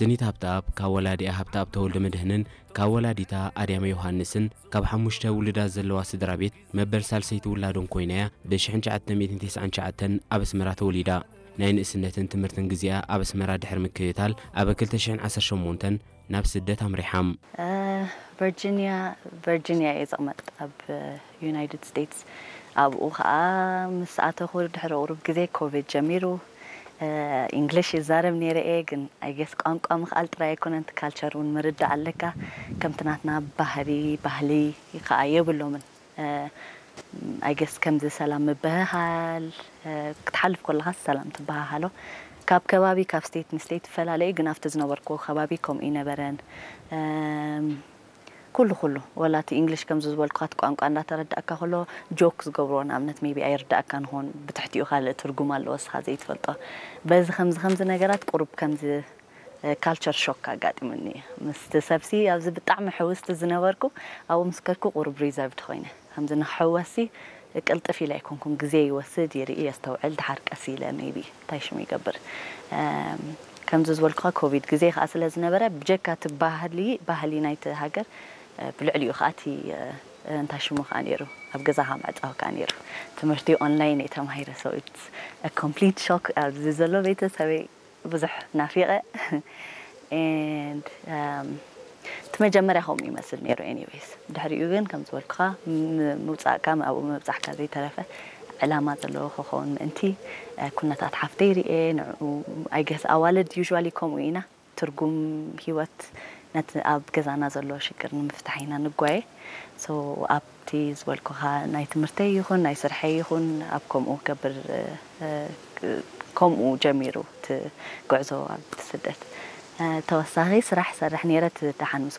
ስኒት ሃብተኣብ ካብ ወላዲኣ ሃብተኣብ ተወልደ መድህንን ካብ ወላዲታ ኣድያመ ዮሃንስን ካብ ሓሙሽተ ውሉዳት ዘለዋ ስድራ ቤት መበል ሳልሰይቲ ውላዶም ኮይና እያ። ብ1999 ኣብ ኣስመራ ተወሊዳ። ናይ ንእስነትን ትምህርትን ግዜኣ ኣብ ኣስመራ ድሕሪ ምክትታል ኣብ 2018 ናብ ስደት ኣምሪሓ። ቨርጂኒያ ቨርጂኒያ እየ ዝቕመጥ ኣብ ዩናይትድ ስቴትስ። ኣብኡ ከዓ ምስ ኣተኹ ድሕሪ ቁሩብ ግዜ ኮቪድ ጀሚሩ። እንግሊሽ ይዛረብ ነይረ እየ፣ ግን ኣይገስ ቋንቋ ምኽኣል ጥራይ ኣይኮነን፣ እቲ ካልቸር እውን ምርዳእ ኣለካ። ከምቲ ናትና ባህሪ ባህሊ ከዓ የብሎምን። ኣይገስ ከምዚ ሰላም ምብህሃል ክትሓልፍ ከለኻ ሰላም ትበሃሃሎ። ካብ ከባቢ ካብ ስቴት ንስቴት ይፈላለ እዩ፣ ግን ኣብቲ ዝነበርኩ ከባቢ ከምኡ ይነበረን። ኩሉ ኩሉ ወላ እቲ እንግሊሽ ከምዚ ዝበልኩኻ እቲ ቋንቋ እንዳተረዳእካ ከሎ ጆክ ዝገብርዎ ንኣብነት ሜቢ ኣይርዳእካን ይኾን፣ ብትሕቲኡ ካልእ ትርጉም ኣለዎ እስኻ ዘይትፈልጦ። በዚ ከምዚ ከምዚ ነገራት ቁሩብ ከምዚ ካልቸር ሾክ ኣጋጢሙኒ። ምስቲ ሰብሲ ኣብዚ ብጣዕሚ ሕውስቲ ዝነበርኩ ኣብኡ ምስ ከድኩ ቁሩብ ሪዘርቭድ ኮይነ። ከምዚ ንክሕወሲ ቅልጥፍ ኢለ ኣይኮንኩን፣ ግዜ ይወስድ፣ ይርኢ፣ የስተውዕል፣ ድሓር ቀስ ኢለ ሜቢ እንታይ ሽሙ ይገብር። ከምዚ ዝበልኩኻ ኮቪድ ግዜ ከዓ ስለ ዝነበረ ብጀካ እቲ ባህሊ ባህሊ ናይቲ ሃገር ብልዕሊኡ ከዓ እቲ እንታይ ሽሙ ከዓ ነይሩ ኣብ ገዛኻ ምዕፃው ከዓ ነይሩ። ትምህርቲ ኦንላይን እየ ተማሂረ። So it's a complete shock። ኣብዚ ዘሎ ቤተሰበይ ብዙሕ ናፊቐ። And እቲ መጀመርያ ከምኡ ይመስል ነይሩ። Anyways ድሕሪኡ ግን ከም ዝበልኩኻ ምውፃእካ ኣብኡ ምብፃሕካ ዘይተረፈ ዕላማ ዘለዎ ክኸውን ምእንቲ ኩነታት ሓፍተይ ርኤ ንኡ። I guess ኣዋልድ usually ከምኡ ኢና። ትርጉም ህይወት ነቲ ኣብ ገዛና ዘሎ ሽግር ንምፍታሕ ኢና ንጓየ። So ኣብቲ ዝበልኩኻ ናይ ትምህርተይ ይኹን ናይ ስርሐይ ይኹን ኣብ ከምኡ ከብር ከምኡ ጀሚሩ እቲ ጉዕዞ ኣብ ስደት። ተወሳኺ ስራሕ ሰርሕ ነይረ። እቲ ደሓን ምስ